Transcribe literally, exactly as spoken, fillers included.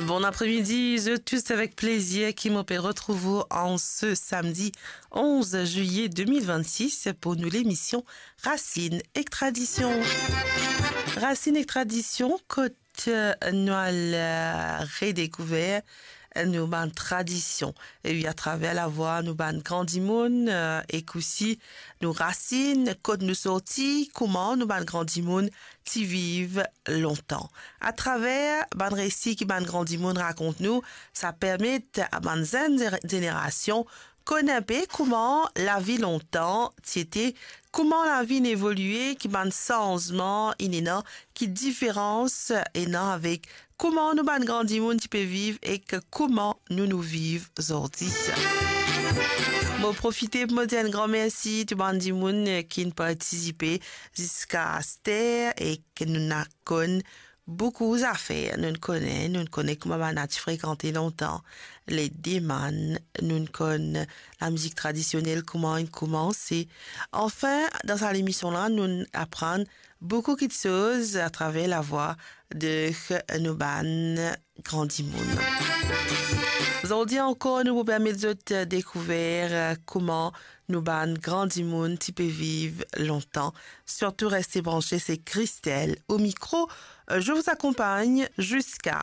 Bon apremidi, zot tous, avek plezir ki mo pe retrouv ou an se samdi onze zilye de mil vennsis pou nou lemision Racine ek Tradision. Racine ek Tradision, kot, eh, nou al, eh, redekouver, eh, nou bann tradision. E wi, atraver lavwa nou bann gran dimoun, eh, ek osi nou rasin, kot nou sorti, kouma nou bann gran dimoun ti viv lontan. Atraver bann resi ki bann gran dimoun rakont nou, sa permet a bann zenn zer-, zenerasion konn inpe kouma lavi lontan ti ete, kouma lavi inn evolie, ki bann sanzman inn ena, ki diferans ena avek kouma nou bann gran dimoun ti pe viv ek kouma nou, nou viv zordi. Mo profite pou mo dir enn gran mersi tou bann dimoun, eh, ki'nn partisipe ziska aster e ki nou'nn konn boukou zafer. Nou'nn kone, nou'nn kone kouma bann-la ti frekante lontan, le demann, nou'nn konn lamizik tradisionel, kouma inn koumanse. Anfin, dan sa lemision-la, nou'nn aprann boukou kiksoz atraver lavwa de nou bann gran dimoun. Zordi ankor, nou pou permet zot dekouver, eh, kouma nou bann gran dimoun ti pe viv lontan. Sirtou reste branche, se Christelle au micro. Euh, je vous accompagne jusqu'à